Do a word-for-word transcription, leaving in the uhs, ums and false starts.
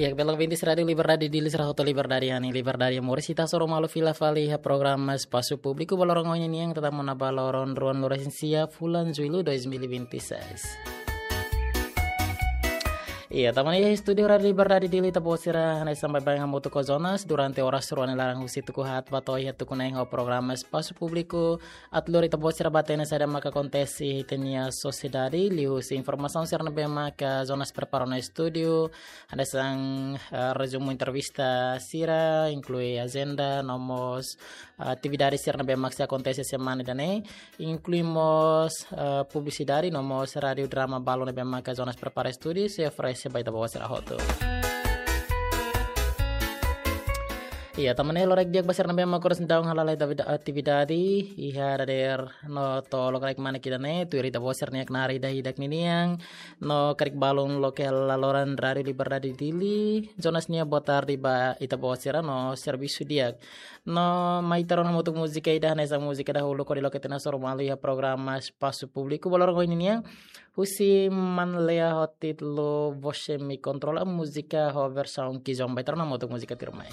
Iha belak bintis Rádiu Liberdade Dili sira hotu liberdade, ani liberdade moris. Ita hasoru malu fila fali iha programa Espasu Públiku ba loron ohin nian, tama ona ba loron ruanulu-resin-sia fulan Jullu dois mil e vinte e seis. Iha, tama ona iha estúdiu Rádiu Liberdade Dili, ita-boot sira hanesan baibain hamutuk ho Jonas durante oras rua nia laran, husi tuku haat ba to'o iha tuku neen, ho programa Espasu Públiku atu lori ita-boot sira ba hatene saida maka akontese iha ita-nia sosiedade, liuhusi informasaun sira ne'ebé maka Jonas prepara ona estúdiu, hanesan, eh, rezumu entrevista sira, inklui ajenda, no mós, eh, atividade sira ne'ebé maka sei akontese semana ida-ne'e, inklui mós, eh, publisidade, no mós radiodrama balu ne'ebé maka Jonas prepara estúdiu, sei oferese ba ita-boot sira hotu. Iha, tama ona iha loron di'ak ba sira ne'ebé maka oras daudaun hala'o ita-nia atividade iha dadeer no to'o loron ida-ne'e, tuir ita-boot sira-nia knaar ida-idak ninian, no karik balun loke hela loron Rádiu Liberdade Dili, Jonas nia boa tarde ba ita-boot sira no servisu di'ak. No mai ita rona hamutuk múzika ida, hanesan múzika dahuluk hodi loke tiha ona hasoru malu iha programa Espasu Públiku ba loron ohin nian, husi Manlea ho títulu Você Me Controla, múzika ho versaun Kizomba. Ita rona hamutuk múzika tuirmai.